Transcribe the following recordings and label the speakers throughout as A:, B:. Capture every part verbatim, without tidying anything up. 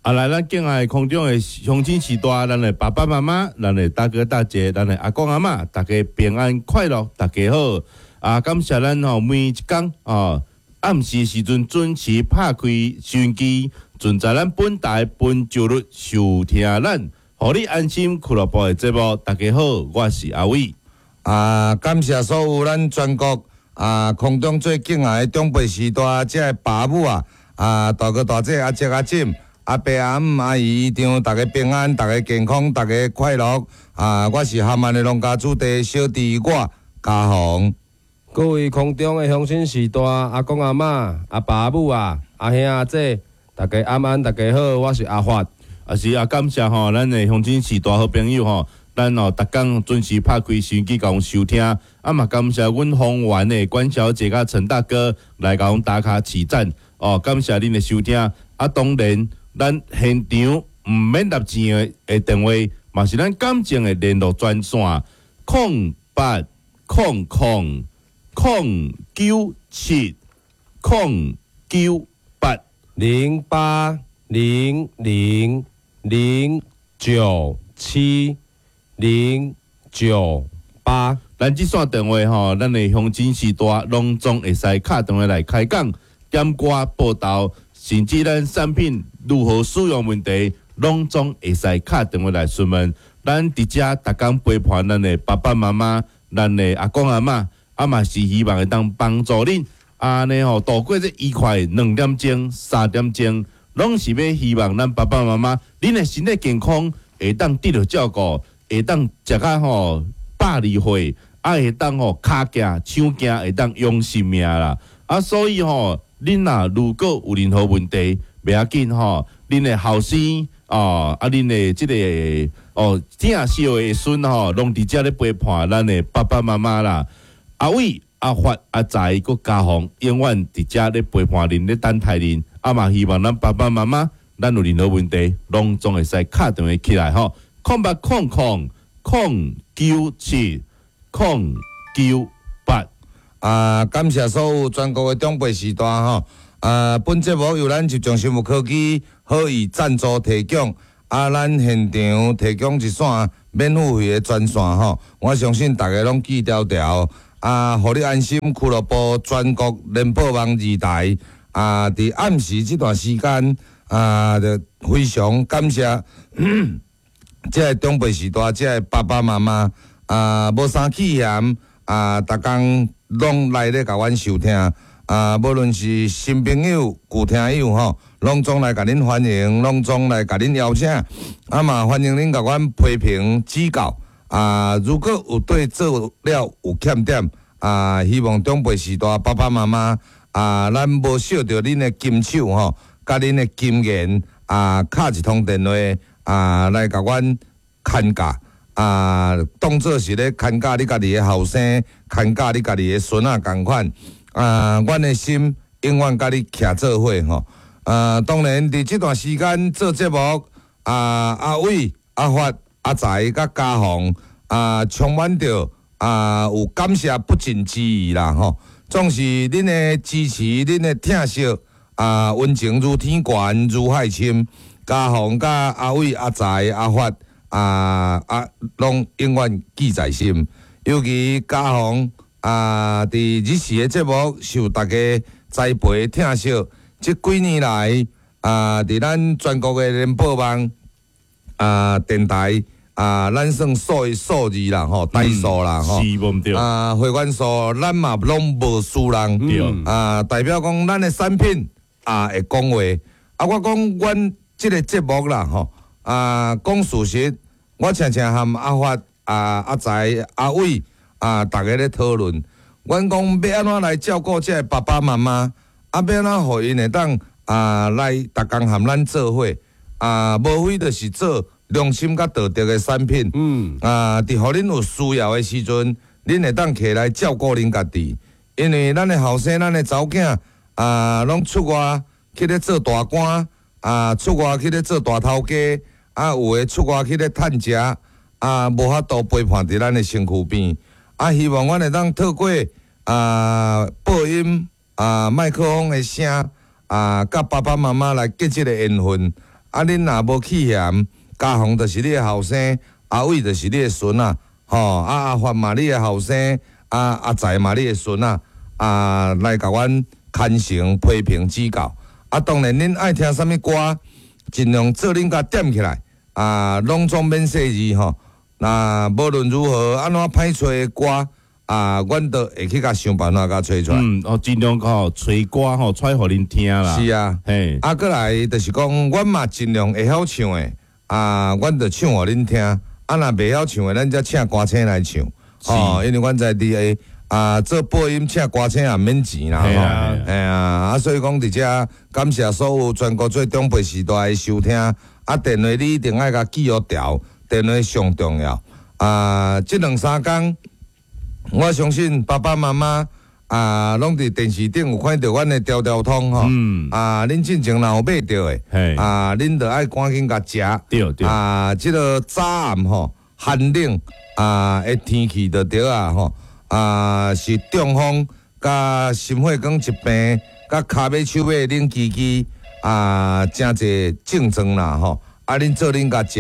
A: 啊，來，咱敬愛空中的鄉親序大，咱的爸爸媽媽，咱的大哥大姐，咱的阿公阿嬤，大家平安快樂，大家好。啊，感謝咱吼每一工哦，暗時時陣準時拍開收音機，準在咱本台本周日收聽咱，予你安心俱樂部的節目。大家好，我是阿偉。
B: 啊，感謝所有咱全國啊空中最敬愛的長輩序大，這个爸母啊，啊大哥大姐阿叔阿婶。阿伯阿姆阿姨姨丈，大家平安，大家健康，大家快樂。啊！我是咸萬的農家子弟小弟我嘉宏。
C: 各位空中的鄉親序大，阿公阿嬤、阿爸阿母啊，阿兄阿姐，大家晚安，大家好，我是阿發。
A: 啊是啊，感謝吼，咱的鄉親序大好朋友吼，咱哦，逐工準時拍開收音機共阮收聽。啊嘛，感謝阮豐原的關小姐佮陳大哥來共阮打卡起讚。哦，感謝恁的收聽。啊，當然，咱現場毋免納錢的的電話，嘛是咱感情的聯絡專線，空八空空空九七空九八
C: 零八零零零九七零九八。
A: 咱這線電話吼，咱的鄉親序大攏總會使敲電話來開講、點歌、報道，甚至咱產品如何使用問題，攏總會使敲電話來詢問。咱佇遮逐工陪伴咱的爸爸媽媽、咱的阿公阿嬤，啊嘛是希望會當幫助恁，按呢吼度過這愉快兩點鐘、三點鐘，攏是欲希望咱爸爸媽媽，恁的身體健康會當得著照顧，會當食甲吼百二歲，啊會當吼跤行、手行，會當用性命啦。啊，所以吼，恁若如果有任何問題，袂要緊吼，恁的後生哦，啊，恁的這个哦，疼惜的孫吼，攏佇遮咧陪伴咱的爸爸媽媽啦。阿偉、阿發、阿財、閣嘉宏，永遠佇遮咧陪伴恁，咧等待恁。啊嘛，希望咱爸爸媽媽，咱有任何問題，攏總會使敲電話起來吼，空八空空空九七空九八。
B: 啊，感謝所有全國的長輩序大吼。啊，本節目由咱集中生物科技好意贊助提供。啊，咱現場提供一線免付費的專線吼，我相信大家攏記牢牢。啊，予你安心俱樂部全國聯播網二台。啊，佇暗時這段時間，啊，就非常感謝這个長輩序大，這个爸爸媽媽啊，無啥氣嫌啊，逐工攏來咧共阮收聽。啊，無論是新朋友、舊聽友吼，攏總來共恁歡迎，攏總來共恁邀請。啊嘛，歡迎恁共阮批評指教。啊，如果有對做了有欠點，啊，希望長輩序大爸爸媽媽啊，咱無惜著恁的金手吼，佮恁的金言啊，敲一通電話啊，來共阮牽教。啊，當做是咧牽教你家己的後生，牽教你家己的孫仔仝款。啊，阮的心永遠佮你徛做伙吼。啊，當然佇這段時間做節目，啊，阿偉、阿發、阿財佮嘉宏啊，充滿著啊，有感謝不盡之意啦吼。總是恁的支持，恁的疼惜啊，溫情如天懸，如海深。嘉宏佮阿偉、阿財、阿發啊啊，攏永遠記在心。尤其嘉宏啊，佇日時的節目受大家栽培疼惜，這幾年來啊，佇咱全國的聯播網啊電台啊，咱算數一數二啦吼，大數啦吼，
A: 是無毋對。
B: 啊，會員數咱嘛攏無輸人，
A: 對
B: 啊，代表講咱的產品啊會講話。啊，我講阮這个節目啦吼，啊，講事實，我常常和阿發、啊阿財、阿偉啊，逐家咧討論。阮講欲按怎來照顧這个爸爸媽媽，啊，欲按怎予𪜶會當啊來逐工和咱做伙，啊，無非就是做良心佮道德的產品。
C: 嗯，
B: 啊，佇予恁有需要的時陣，恁會當起來照顧恁家己。因為咱的後生、咱的查某囝啊，攏出外去咧做大官，啊，出外去咧做大頭家，啊，有的出外去咧趁食，啊，無法度陪伴佇咱的身軀邊。啊，希望阮會當透過啊播音啊麥克風的聲啊，佮爸爸媽媽來結這个緣分。啊，恁若無去嫌，嘉宏就是你的後生，阿偉就是你的孫仔，吼，啊阿發嘛你的後生，啊阿財嘛你的孫仔，啊來共阮牽成批評指教。啊，當然恁愛聽啥物歌，盡量做恁共點起來，啊，攏總免細膩吼。那無論如何，按怎歹揣的歌，啊，阮都會去共想辦法共揣出來。
A: 嗯，哦，盡量吼揣歌吼，揣予恁聽啦。
B: 是啊，
A: 嘿，
B: 啊，閣來就是講，阮嘛盡量會曉唱的，啊，阮就唱予恁聽。啊，若袂曉唱的，咱才請歌星來唱。哦，因為阮知佇個啊做播音請歌星也免錢啦，吼。
A: 嘿啊
B: 嘿啊，啊，所以講佇遮感謝所有全國做長輩時代的收聽。啊，電話你一定愛共記予牢，電話上重要。啊，這兩三工，我相信爸爸媽媽啊，攏佇電視頂有看著阮的條條通吼。
A: 嗯
B: 啊，恁進前若有買著的，
A: 嘿
B: 啊，恁著愛趕緊共食。
A: 對對
B: 啊，這个早暗吼寒冷啊的天氣就對啊吼，啊是中風佮心血管疾病佮跤尾手尾冷吱吱啊，誠濟症狀啦吼。啊，恁做恁共食，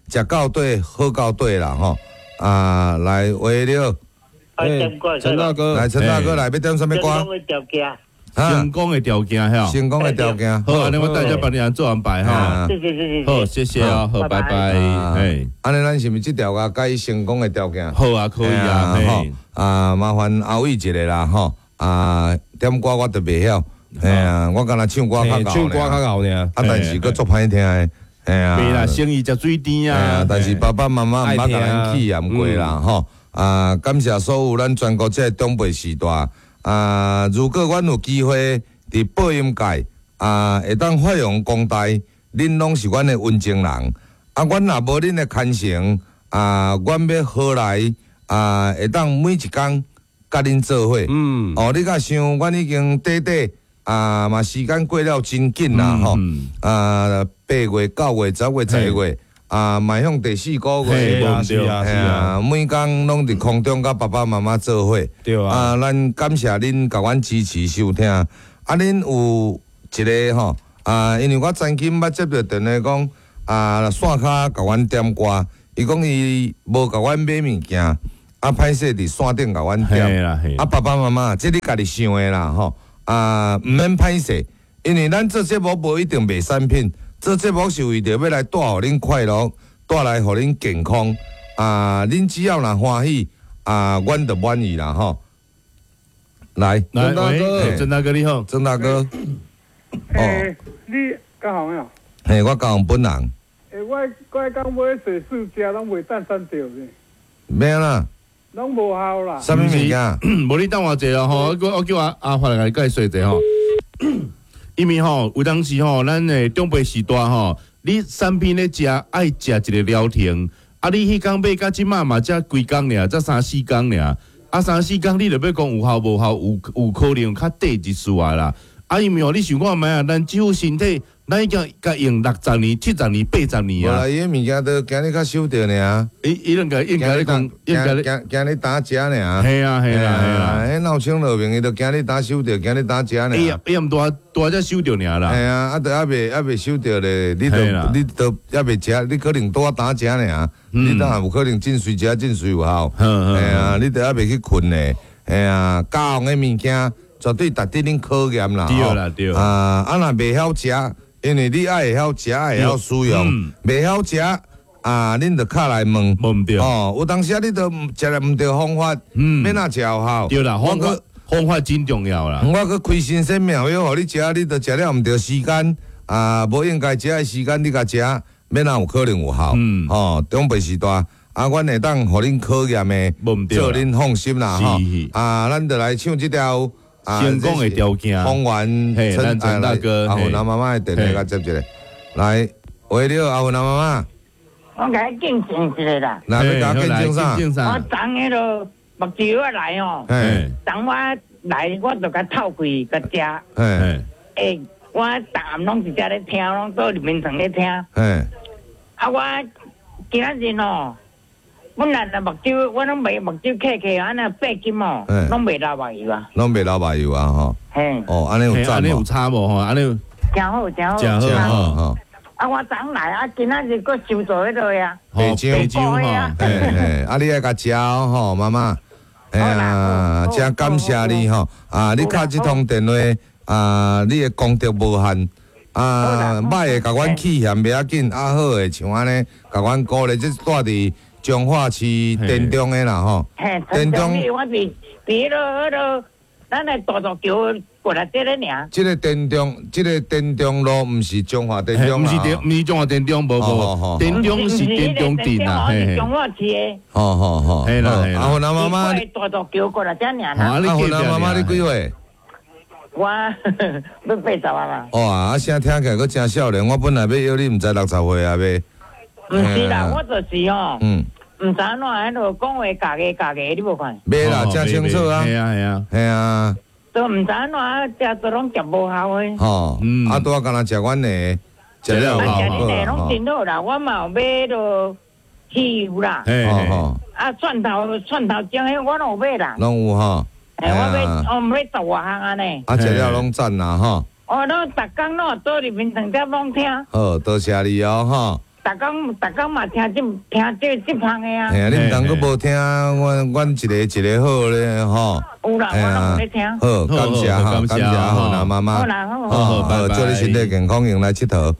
B: 食到底好到底啦吼。啊，來喂你好，
C: 欸
D: 陳
C: 大哥，
B: 來陳大哥來，欲點啥物歌？
D: 成功的條件，
B: 啊
A: 成功的條件吼。
B: 成功的條件。
A: 好，按呢我等下幫你按做安排哈。
B: 啊
D: 謝謝謝謝。
A: 好，謝謝哦，好，拜拜。嘿，
B: 按呢，咱是毋是這條共改成功的條件？
A: 好啊，可以啊，
B: 吼
A: 嘿，
B: 啊，麻煩阿偉一个啦，吼啊，點歌我就袂曉，嘿啊，我敢若唱歌較𠢕，
C: 唱歌較𠢕爾。
B: 啊，但是閣足歹聽的，嘿啊，
A: 袂啦，生意食水甜
B: 啊
A: 啊，
B: 但是爸爸媽媽毋捌共咱氣嫌過啦，吼啊，感謝所有咱全國這个長輩時代啊，如果阮有機會佇播音界啊，會當發揚光大，恁攏是阮的溫情人，啊，阮若無恁的牽成啊，阮欲何來啊，會當每一工佮恁做伙。
C: 嗯，
B: 哦，你敢想，阮已經短短啊，嘛時間過了真緊啦，吼
A: 嗯
B: 啊，八月、九月、十月、十一月啊，邁向第四個月，
C: 是啊是啊是啊，
B: 每工攏佇空中佮爸爸媽媽做伙。
C: 對啊，
B: 啊，咱感謝恁共阮支持收聽。啊，恁有一个吼啊，因為我曾經捌接著電話講啊，線跤共阮點歌，伊講伊無共阮買物件，啊，歹勢佇線頂共阮點。
A: 嘿啦嘿
B: 啊，爸爸媽媽，這你家己想的啦吼。啊，毋免歹勢，因為咱做節目無一定賣產品，做節目是為著欲來帶予恁快樂，帶來予恁健康。啊，恁只要若歡喜，啊，阮就滿意啦吼。來，
A: 來，
C: 曾大哥
A: 喂，曾大哥你好，
B: 曾大哥，
E: 欸，你嘉宏啊？
B: 嘿，我嘉宏本人，
E: 欸，我我剛買水四食攏袂當算著呢，
B: 欲按怎？
E: 攏無效啦。
B: 啥物物件？
A: 無你等我一下吼，我我叫阿阿發來共你解釋一下吼。因為吼，有當時吼，咱的長輩時代吼，你產品咧食愛食一个療程，啊，你彼工買到這馬嘛才幾工爾，才三四工爾，啊，三四工你著欲講有效無效，有有可能較短一絲仔啦。啊，因為吼，你想看覓啊？咱這副身體，咱已經共用六十年、七十年、八十年
B: 無啦，
A: 啊。
B: 伊的物件都今日較收著爾，
A: 伊伊應該應該咧講，應該咧，
B: 驚驚你打食爾。
A: 嘿啊嘿啦嘿啦。
B: 彼鬧清落面，伊就驚你打收著，驚你打食爾。
A: 伊伊毋拄拄才收著爾啦。
B: 嘿啊，啊，都猶未猶未收著咧，你
A: 嘿啦
B: 都你都猶未食，你可能拄仔打食爾，你當然有可能進隨食進隨有效。
A: 嗯
B: 嘿啊，你都猶未去睏咧。嘿啊，教紅的物件絕對值得恁考驗啦。
A: 對啦對
B: 啊，啊若袂曉食，因為你愛會曉食，會曉使用
A: 嗯，
B: 袂曉食啊，恁就敲來問。
A: 無毋對。
B: 哦，有當時啊，你都食了毋對方法，
A: 嗯
B: 欲按怎食有效？
A: 對啦，方法
B: 我
A: 方法真重要啦。
B: 我閣開新鮮妙藥，予你食，你都食了毋對時間，啊，無應該食的時間你共食，欲按怎有可能有效？
A: 嗯
B: 吼，長輩時代，啊，阮會當予恁考驗的，
A: 無毋對啦
B: 做恁放心啦，吼
A: 是。
B: 啊，咱就來唱這條啊
A: 成功的條件
B: 豐原
A: 嘿咱陳大哥
B: 阿
A: 嘿
B: 雲阿媽媽的電話共接一下，來，喂，你好，阿雲阿媽媽，
F: 我共你見證一下啦。
B: 來，欲共見證啥？
A: 見證啥
F: 我昨彼个目睭我來吼，
B: 嘿，
F: 昨我來我就共透開共食。
B: 嘿，
A: 嘿，
F: 欸，我逐暗攏佇遮咧聽，攏倒入眠床咧聽。
B: 嘿，
F: 啊，我今仔日吼，本來若目睭我攏袂目睭開開，按呢八金吼，攏袂流目油啊。
B: 攏袂流目油啊，吼。
F: 嘿。
B: 哦，按呢有
A: 按呢有
B: 贊無？
A: 差無吼？按呢
F: 誠好，誠好。
A: 誠好
B: 誠好吼。
F: 啊，我昨來啊，今仔日閣收到彼落啊。
B: 白漿
A: 白漿吼，
B: 嘿嘿，啊，你愛共食哦吼，媽媽。哎呀，真感謝你吼！啊，你敲這通電話啊，你的功德無限。啊，歹的共阮氣嫌袂要緊，啊好的像按呢，共阮鼓勵，這住佇彰化市田中的啦吼。
F: 嘿，田中，我佇佇彼落彼落，咱的大渡橋過來這咧爾。
B: 這个田中，這个田中路毋是彰化田中，
A: 毋是田，毋是彰化田中，無無，田中是田中鎮啊，
F: 嘿，彰化市的。
B: 吼吼吼，
A: 嘿啦，
B: 阿芬阿媽媽，
F: 大渡橋過來這爾啦。
B: 阿芬阿媽媽，你幾歲？
F: 我欲八十啊啦。
B: 哇，啊聲聽起來閣誠少年，我本來欲約你，毋知六十歲啊未？
F: 毋是啦，我就是吼，
B: 嗯，
F: 毋知按怎彼落講話咬个咬个，你無看？
B: 袂啦，誠清楚啊。
A: 係啊係啊，
B: 係啊。
F: 都毋知按怎，食都攏食無效的。
B: 吼，啊，拄仔敢若食阮的，食了
F: 啊，食恁的攏真好啦，我嘛有買落汽油啦。啊，蒜頭蒜頭醬彼我攏有買啦。
B: 攏有吼。
F: 欸，我買，我買十外項按呢。
B: 啊，食了攏讚啦吼。
F: 我攏逐工攏倒入眠床才攏聽。
B: 好，多謝你哦吼。
F: 逐工逐工嘛聽這聽這這芳的啊。
B: 嘿啊，你毋通閣無聽，阮阮一个一個好咧吼。
F: 有啦，我攏有咧聽。
B: 好，感謝哈，感謝好啦，媽媽。
F: 好啦，好。
B: 好，好，祝你身體健康，用來𨑨迌。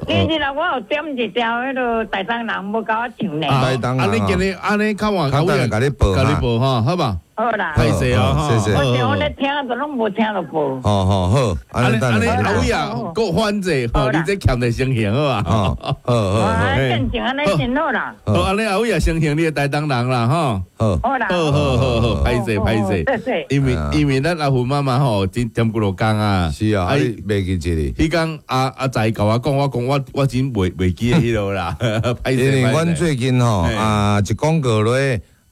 F: 你你啦，我有點一條彼落台東人無共我唱呢。
A: 台東人。啊，你今日按呢較晚，
B: 較等共你報，
A: 共你報吼，好吧？
F: 好啦，
A: 歹勢哦，
B: 謝謝。
F: 我我咧聽，都攏無聽著報。
B: 好好好，
A: 按呢按呢阿偉啊，閣反者吼，你這欠得先行好啊？
B: 好，好好。
F: 啊，正常按呢真好啦。
A: 好，按呢阿偉啊，先行你的台東人啦，吼。
B: 好。
F: 好啦。
A: 好好好好，歹勢歹勢。
F: 謝謝。
A: 因為因為咱阿芬媽媽吼，真踮幾落工啊。
B: 是啊，你袂記這裡。
A: 彼工阿阿仔共我講，我講我我真袂袂記得彼落啦。歹勢。
B: 因為阮最近吼啊，一廣告落。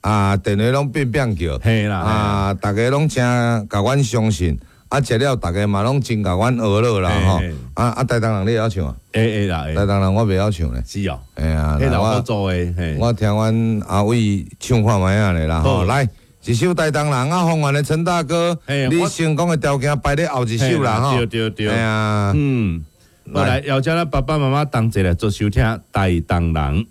B: 啊，電話攏變變叫，啊，逐家攏誠共阮相信，啊，食了逐家嘛攏真共阮學落啦吼，啊啊，台東人你會曉唱啊？
A: 會會啦，
B: 台東人我袂曉唱咧。
A: 是哦，
B: 嘿啊，
A: 我做的，
B: 我聽阮阿偉唱看覓仔咧啦吼，來一首台東人啊，豐原的陳大哥，你成功的條件排咧後一首啦吼，
A: 對對對，
B: 嘿啊，
A: 嗯，來邀請咱爸爸媽媽同齊來做收聽台東人。